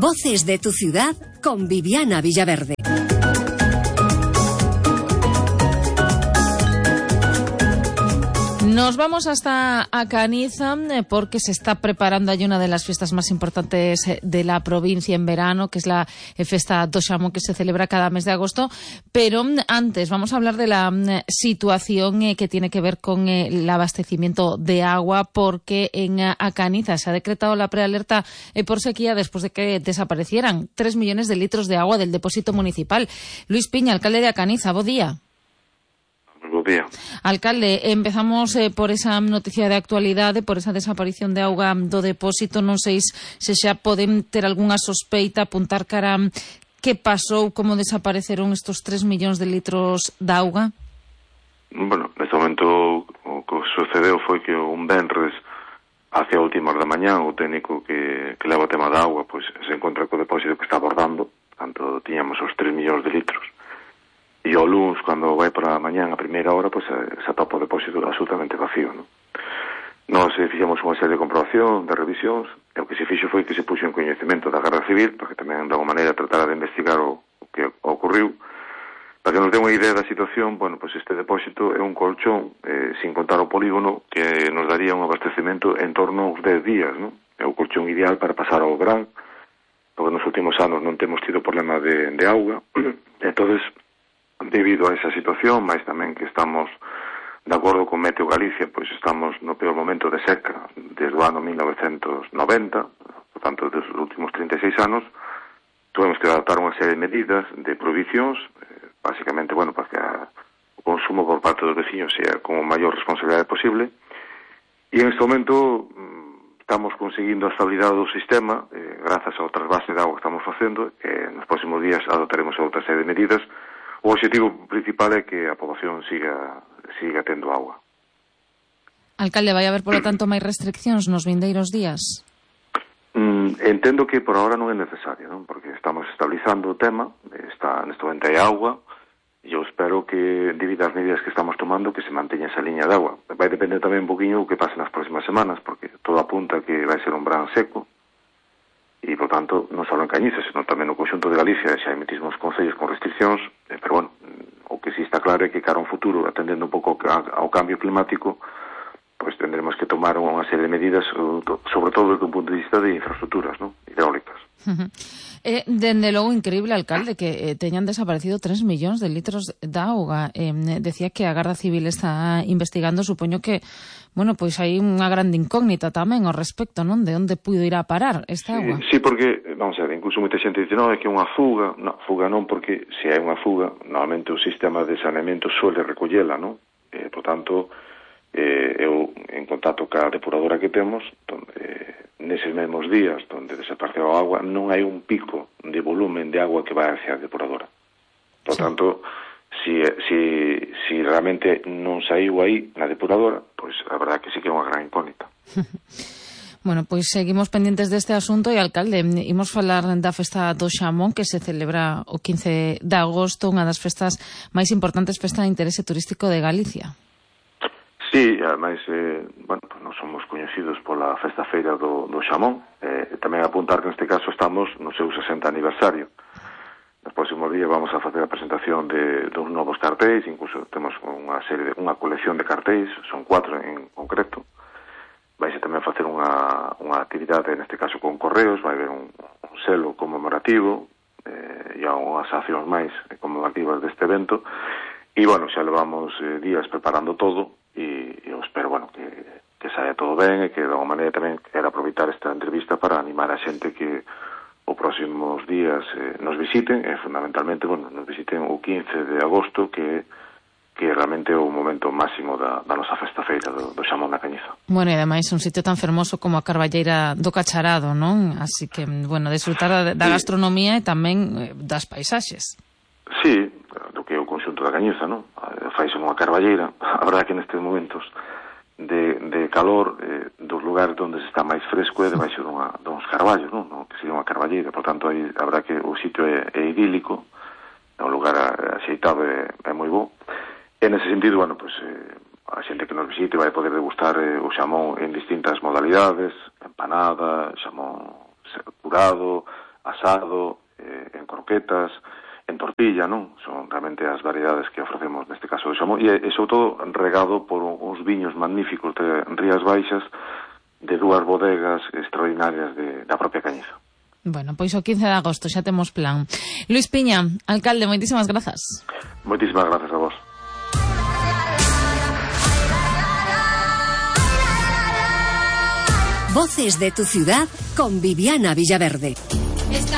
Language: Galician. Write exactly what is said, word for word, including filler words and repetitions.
Voces de tu ciudad con Viviana Villaverde. Nos vamos hasta a Caniza porque se está preparando allí una de las fiestas más importantes de la provincia en verano, que es la Festa do Xamón, que se celebra cada mes de agosto. Pero antes vamos a hablar de la situación que tiene que ver con el abastecimiento de agua, porque en a Caniza se ha decretado la prealerta por sequía después de que desaparecieran tres millones de litros de agua del depósito municipal. Luis Piña, alcalde de A Caniza, bo día. Bo día. Alcalde, empezamos eh, por esa noticia de actualidade, por esa desaparición de auga do depósito. Non sei se xa poden ter algunha sospeita, apuntar cara que pasou, como desapareceron estos tres millóns de litros de auga. Bueno, neste momento o que sucedeu foi que un venres hacia últimas da mañá o técnico que, que leva o tema da auga pois se encontra co depósito que está abordando, tanto tiñamos os tres millóns de litros. E o luns, cando vai para a mañán a primeira hora, pois se atopa o depósito absolutamente vacío, non? Nós fixemos unha serie de comprobación, de revisións, e o que se fixo foi que se puxo en coñecemento da Garda Civil, porque tamén de alguma maneira tratara de investigar o, o que ocorriu. Para que nos dé unha idea da situación, bueno, pois este depósito é un colchón, eh, sin contar o polígono, que nos daría un abastecemento en torno aos dez días, non? É o colchón ideal para pasar ao verán, porque nos últimos anos non temos tido problema de, de auga, entonces debido a esa situación, máis tamén que estamos de acordo con Meteo Galicia, pois estamos no peor momento de seca desde o ano mil novecentos noventa, por tanto, desde os últimos trinta e seis anos, tuvemos que adaptar unha serie de medidas de provisións, eh, basicamente, bueno, para que a, o consumo por parte dos veciños sea con a maior responsabilidade posible, e en este momento mm, estamos conseguindo a estabilidade do sistema, eh, grazas ao trasvase de agua que estamos facendo, e nos próximos días adoptaremos outra serie de medidas. O objetivo principal é que a poboación siga siga tendo agua. Alcalde, vai haber, polo tanto, máis restriccións nos vindeiros días? Mm, entendo que por ahora non é necesario, non? Porque estamos estabilizando o tema, está neste momento hai agua, e eu espero que, debido ás medidas que estamos tomando, que se manteña esa liña de agua. Vai depender tamén un poquinho o que pase nas próximas semanas, porque todo apunta que vai ser un verán seco, e, por tanto, non só en Cañiza, senón tamén no conxunto de Galicia, xa emitimos concellos con restriccións, eh, pero, bueno, o que sí está claro é que cara a un futuro, atendendo un pouco ao cambio climático, pois tendremos que tomar unha serie de medidas, sobre todo desde un punto de vista de infraestructuras, non? Hidráulicas. Uh-huh. Eh, dende logo, increíble, alcalde, que eh, teñan desaparecido tres millóns de litros de auga. Eh, decía que a Garda Civil está investigando, supoño que, bueno, pois hai unha grande incógnita tamén ao respecto, non? De onde puido ir a parar esta agua. Sí, sí, porque, vamos a ver, incluso moita xente dice, non, é que é unha fuga. Non, fuga non, porque se hai unha fuga, normalmente o sistema de saneamento suele recollela, non? Eh, por tanto, eh, eu, en contacto ca depuradora que temos, donde, eh, neses mesmos días donde desapareceu a agua, non hai un pico de volumen de agua que vai hacia a depuradora. Por sí. tanto, si, si, si realmente non saiu aí na depuradora, pois a verdade que sí que é unha gran incógnita. Bueno, pois seguimos pendientes deste asunto e, alcalde, imos falar da Festa do Xamón, que se celebra o quince de agosto, unha das festas máis importantes, festa de interese turístico de Galicia. Sí, ademais, eh, bueno, pues non somos coñecidos pola festa feira do, do Xamón. Eh, tamén apuntar que neste caso estamos no seu sesenta aniversario. Nos próximos días vamos a facer a presentación de dos novos cartéis, incluso temos unha serie de, unha colección de cartéis, son cuatro en concreto. Vais a tamén facer unha, unha actividade, neste caso con correos, vai haber un, un selo conmemorativo, eh, e unhas accións máis conmemorativas deste evento. E, bueno, xa levamos eh, días preparando todo, e eu espero, bueno, que, que saia todo ben e que, de alguma maneira, tamén quero aproveitar esta entrevista para animar a xente que os próximos días eh, nos visiten, e fundamentalmente, bueno, nos visiten o quince de agosto, que que realmente é o momento máximo da, da nosa festa feira do, do Xamón da Cañiza. Bueno, e ademais un sitio tan fermoso como a Carballeira do Cacharado, non? Así que, bueno, desfrutar da, da gastronomía e tamén das paisaxes. Sí, do que é o conxunto da Cañiza, non? Faise unha carballeira. A verdade que nestes momentos de, de calor, eh, dos lugares onde se está máis fresco é debaixo dunha, duns carballos, non? No, que sería unha carballeira. Por tanto, aí, a verdade que o sitio é, é idílico, é un lugar axeitado e é moi bo. E nese sentido, bueno, pues, eh, a xente que nos visite vai poder degustar eh, o xamón en distintas modalidades, empanada, xamón curado, as asado, eh, en croquetas, en tortilla, non? Son realmente as variedades que ofrecemos neste caso do xamón, e, e sobre todo regado por uns viños magníficos de Rías Baixas, de dúas bodegas extraordinarias de, da propia Cañiza. Bueno, pois o quince de agosto xa temos plan. Luis Piña, alcalde, moitísimas grazas. Moitísimas grazas a vos. Voces de tu ciudad con Viviana Villaverde.